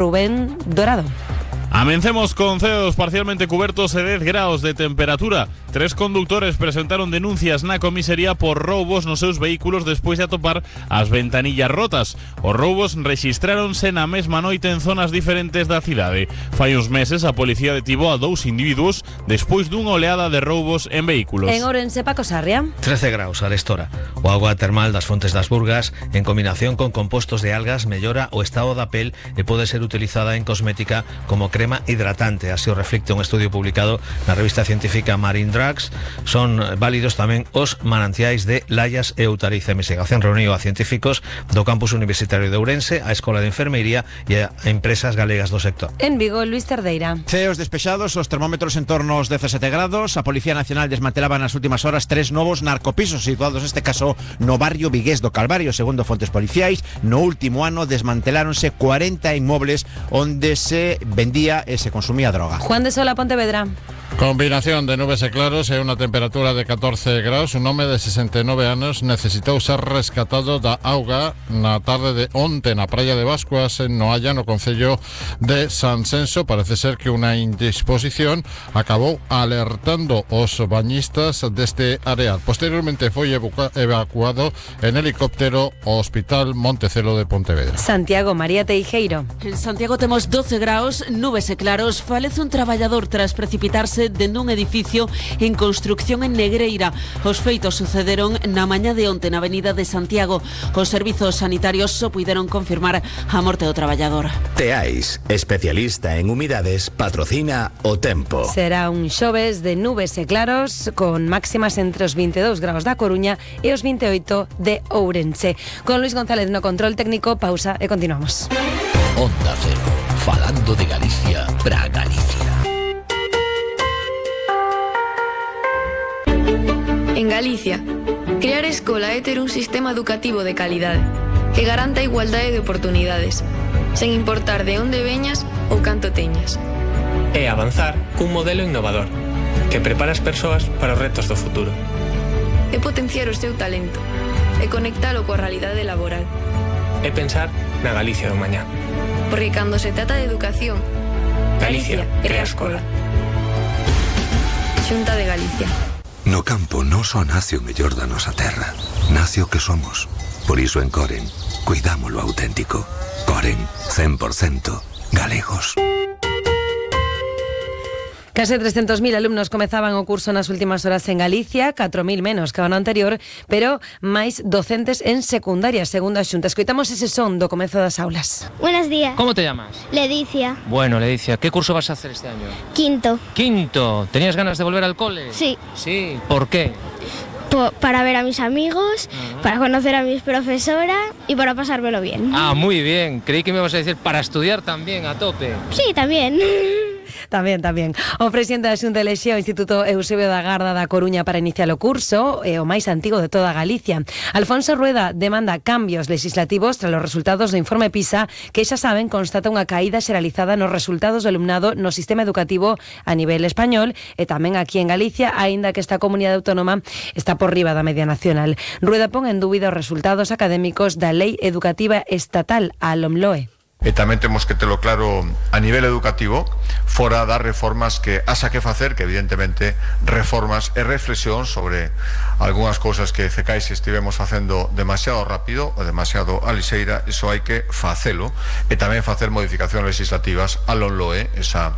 Rubén Dorado. Amencemos con ceos parcialmente cubiertos e 10 graus de temperatura. 3 conductores presentaron denuncias na comisaría por roubos nos seus vehículos despois de atopar as ventanillas rotas. Os roubos rexistráronse na mesma noite en zonas diferentes da cidade. Fai uns meses a policía detivo a 2 individuos despois dunha oleada de roubos en vehículos. En Ourense, Paco Sarria. 13 graus arestora. O agua termal das Fontes das Burgas, en combinación con compostos de algas, mellora o estado da pel e pode ser utilizada en cosmética como crema hidratante. Así o reflicte un estudio publicado na revista científica Marine Drugs. Son válidos tamén os mananciais de Layas e Outariz. A investigación reuniu a científicos do campus universitario de Ourense, a Escola de Enfermería e a empresas galegas do sector. En Vigo, Luis Terdeira. Ceos despexados, os termómetros en torno aos 17 grados. A Policía Nacional desmantelaba nas últimas horas 3 novos narcopisos situados neste caso no barrio vigués do Calvario. Segundo fontes policiais, no último ano desmanteláronse 40 inmobles onde se vendía e se consumía droga. Juan de Sola, Pontevedra. Combinación de nubes e claros e unha temperatura de 14 graus. Un home de 69 anos necesitou ser rescatado da auga na tarde de onte na praia de Bascuas en Noalla, no concello de Sansenso. Parece ser que unha indisposición acabou alertando os bañistas deste areal. Posteriormente foi evacuado en helicóptero ao Hospital Montecelo de Pontevedra. Santiago, María Teijeiro. En Santiago temos 12 graus, nubes e claros. Falece un traballador tras precipitarse dentro dun edificio en construcción en Negreira. Os feitos sucederon na mañá de onte na avenida de Santiago. Os servizos sanitarios só puideron confirmar a morte do traballador. Teais, especialista en humidades, patrocina o tempo. Será un xoves de nubes e claros con máximas entre os 22 graus da Coruña e os 28 de Ourense. Con Luis González no control técnico, pausa e continuamos. Onda Cero, falando de Galicia para Galicia. En Galicia, crear escola é ter un sistema educativo de calidade que garanta a igualdade de oportunidades, sen importar de onde veñas ou canto teñas. É avanzar cun modelo innovador que prepara as persoas para os retos do futuro. É potenciar o seu talento e conectalo coa realidade laboral. É pensar na Galicia do mañá. Porque cando se trata de educación, Galicia crea escola. Xunta de Galicia. No campo non só nace o mellor da nosa terra, nace o que somos. Por iso en Coren, cuidamos lo auténtico. Coren, 100% galegos. Case 300.000 alumnos comezaban o curso nas últimas horas en Galicia, 4.000 menos que o ano anterior, pero máis docentes en secundaria, segundo a Xunta. Escoitamos ese son do comezo das aulas. Buenos días. ¿Cómo te llamas? Ledicia. Bueno, Ledicia, ¿qué curso vas a hacer este año? Quinto. Quinto. ¿Tenías ganas de volver al cole? Sí. Sí. ¿Por qué? Para ver a mis amigos, para conocer a mis profesoras y para pasármelo bien. Ah, muy bien. Creí que me ibas a decir para estudiar también, a tope. Sí, también. Tamén. O presidente da Xunta elexeu o Instituto Eusebio da Garda da Coruña para iniciar o curso, o máis antigo de toda Galicia. Alfonso Rueda demanda cambios legislativos tras os resultados do informe PISA, que xa saben constata unha caída xeralizada nos resultados do alumnado no sistema educativo a nivel español e tamén aquí en Galicia, aínda que esta comunidade autónoma está por riba da media nacional. Rueda pon en dúbida os resultados académicos da Lei Educativa Estatal, a LOMLOE. E tamén temos que telo claro a nivel educativo, fora das reformas que haxa que facer, que evidentemente reformas e reflexión sobre algunhas cousas que cecais estivemos facendo demasiado rápido ou demasiado a lixeira. Iso hai que facelo e tamén facer modificacións legislativas a LOMLOE, esa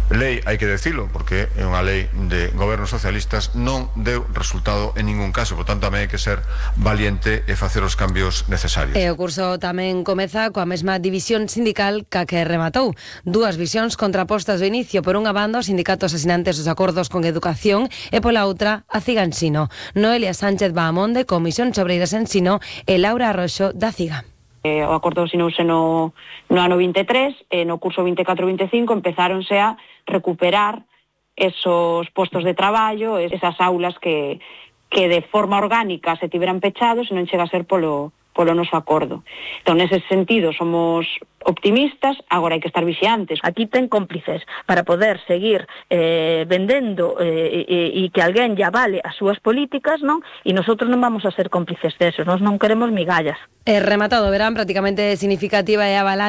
lei, hai que decilo, porque é unha lei de gobernos socialistas, non deu resultado en ningún caso, por tanto tamén hai que ser valiente e facer os cambios necesarios. E o curso tamén comeza coa mesma división sindical ca que rematou. Dúas visións contrapostas do inicio. Por unha banda, os sindicatos asinantes dos acordos con educación e pola outra, a CIGA Ensino. Noelia Sánchez Bahamonde, Comisión Obreiras Ensino, e Laura Arroxo, da CIGA. O acordo asinouse no ano 23 e no curso 24-25 empezáronse a recuperar esos postos de traballo, esas aulas que de forma orgánica se tiveran pechados e non chega a ser polo noso acordo. Entón, nese sentido, somos optimistas, agora hai que estar vixiantes. Aquí ten cómplices para poder seguir vendendo e que alguén lle avale as súas políticas, non? E nosotros non vamos a ser cómplices desos, nós non queremos migallas. Rematado o verán, prácticamente significativa e avalancha